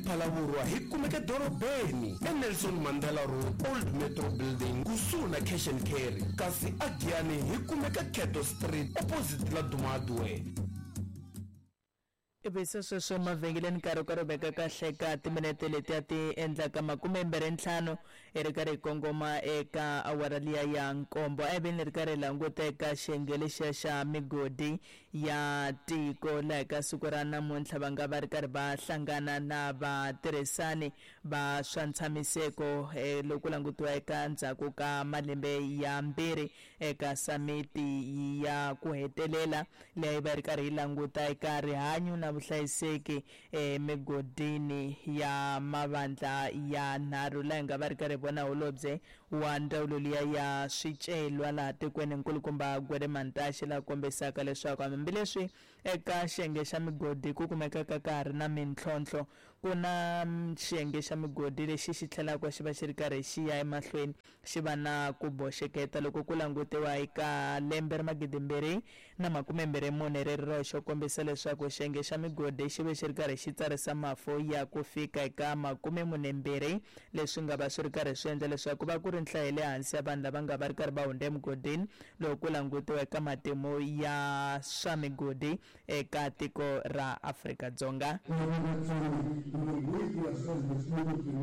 Phalaborwa hi kumeka dorobeni eNelson Mandela Road, Old Metro Building, kusuhi na Cash and Carry. Kasi aGiyani hi kumeka Cato Street, opposite Laduma Hardware. Ivi se sweswo emavhengeleni nkarhi wu karhi wu veka kahle ka timinete letiya ti endlaka 25 hi ri karhi hi kongoma eka awara liya ya nkombo. A hi veni ri karhi hi languta eka xiyenge lexiya xa migodi ya tiko laha eka siku ra namuntlha va nga va ri karhi va hlangana na vatirhisani va swa ntshamiseko loko ku langutiwa eka ndzhaku ka malembe ya mbirhi eka samiti ya ku hetelela leyi va ri karhi yi languta eka rihanyo na vuhlayiseki emigodini ya mavandla ya nharhu laha hi nga va ri karhi hi vona holobye wa ndzawulo liya ya swicelwa laha tikweni nkulukumba Gwede Mantashe laha kombisaka leswaku hambileswi eka xiyenge xa migodi ku kumekaka ka ha ri na mintlhontlho ku na xiyenge xa migodi lexi xi tlhelaka xi va xi ri karhi xi ya emahlweni xi va na ku boxeketa loko ku langutiwa eka lembe ra 2024 ri ri roxe kombisa leswaku xiyenge xa migodi xi ve xi ri karhi xi tsarisa mafu ya ku fika eka 42 leswi nga va swi ri karhi swi endla leswaku va ku ri nhlayo ya le hansi ya vanhu lava nga va ri karhi va hundza emugodini loko ku langutiwa eka matimu ya swa migodi eka tiko ra Afrika-Dzonga.